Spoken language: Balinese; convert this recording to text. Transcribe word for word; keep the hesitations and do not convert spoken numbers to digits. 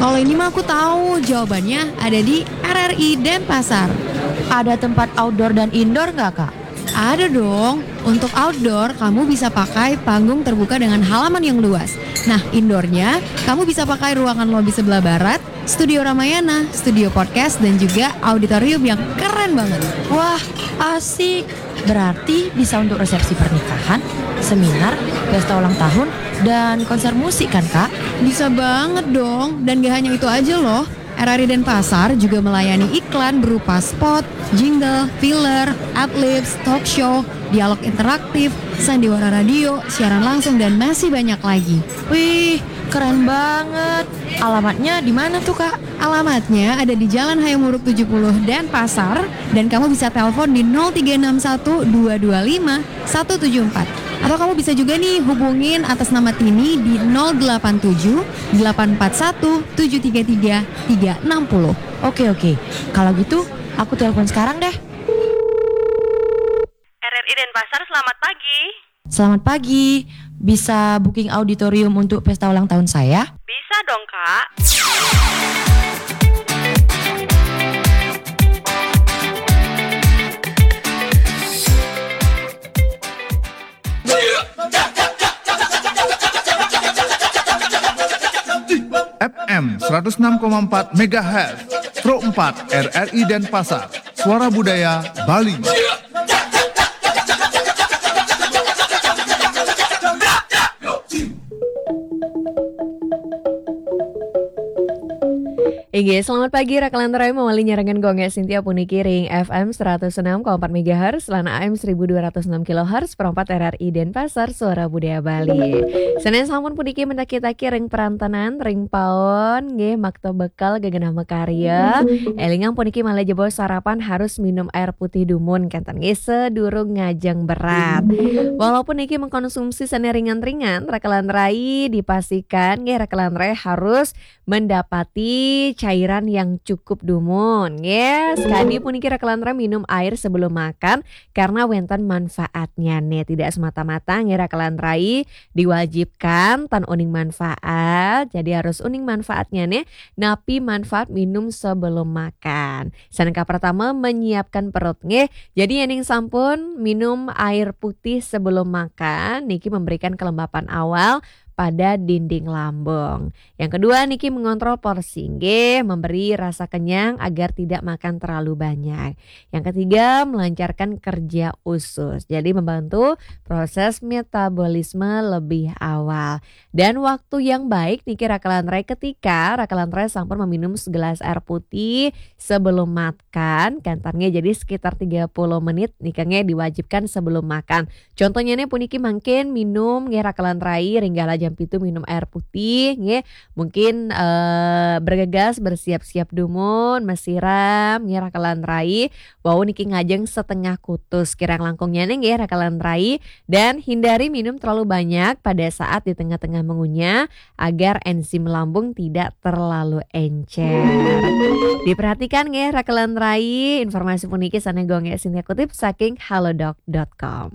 Kalau ini mah aku tahu, jawabannya ada di R R I Denpasar. Ada tempat outdoor dan indoor nggak, Kak? Ada dong. Untuk outdoor, kamu bisa pakai panggung terbuka dengan halaman yang luas. Nah, indoornya, kamu bisa pakai ruangan lobi sebelah barat, studio Ramayana, studio podcast, dan juga auditorium yang keren banget. Wah, asik. Berarti bisa untuk resepsi pernikahan, seminar, pesta ulang tahun, dan konser musik kan, Kak? Bisa banget dong, dan gak hanya itu aja loh. R R I Denpasar juga melayani iklan berupa spot, jingle, filler, adlibs, talk show, dialog interaktif, sandiwara radio, siaran langsung, dan masih banyak lagi. Wih, keren banget. Alamatnya di mana tuh, Kak? Alamatnya ada di Jalan Hayam Wuruk tujuh puluh Denpasar, dan kamu bisa telepon di nol tiga enam satu dua dua lima satu tujuh empat. Atau kamu bisa juga nih hubungin atas nama Tini di nol delapan tujuh delapan empat satu tujuh tiga tiga tiga enam nol. Oke, oke. Kalau gitu, aku telepon sekarang deh. R R I Denpasar, selamat pagi. Selamat pagi. Bisa booking auditorium untuk pesta ulang tahun saya? Bisa dong, Kak. F M seratus enam koma empat megahertz, Pro empat R R I Denpasar, Suara Budaya Bali. Inggih, selamat pagi, Rakalan Rai, mawali nyarengan Gung Gé Sintia puniki ring F M seratus enam koma empat megahertz lan A M seribu dua ratus enam kilohertz, Pro empat R R I Denpasar, Suara Budaya Bali. Senen sampun puniki mendaki-taki ring perantanan, ring paon, nggih, makta bekal, gegenah makarya. Elingang puniki malih jebos sarapan harus minum air putih dumun, kenten nggih, sedurung ngajeng berat. Walaupun niki mengkonsumsi sene ringan-ringan, Rakalan Rai dipastikan, nggih, Rakalan Rai harus mendapati cairan yang cukup dumun, nggih. Sakadi puniki Rakalan Rai minum air sebelum makan karena wenten manfaatnya nih. Tidak semata-mata, nggih, Rakalan Rai diwajibkan tan uning manfaat. Jadi harus uning manfaatnya nih. Napi manfaat minum sebelum makan? Sane kapertama, menyiapkan perut, nggih. Jadi yening sampun minum air putih sebelum makan, niki memberikan kelembapan awal pada dinding lambung. Yang kedua niki mengontrol porsi, nggih, memberi rasa kenyang agar tidak makan terlalu banyak. Yang ketiga, melancarkan kerja usus. Jadi membantu proses metabolisme lebih awal. Dan waktu yang baik niki Rakalan Rai ketika Rakalan Rai sampun meminum segelas air putih sebelum makan, kenten nggih, jadi sekitar tiga puluh menit nika nggih diwajibkan sebelum makan. Contohnya nih puniki mangkin minum nggih Rakalan Rai, ring galah jam pitu minum air putih nggih. Mungkin eh, bergegas bersiap-siap dumun, masiram nggih Rakalan Rai. Wau niki ngajeng setengah kutus kirang langkungnya nih nggih Rakalan Rai. Dan hindari minum terlalu banyak pada saat di tengah-tengah mengunyah agar enzim lambung tidak terlalu encer. Diperhatikan nggih Rakalan Rai, informasi puniki sane Gung Gé Sintia kutip saking halodoc dot com.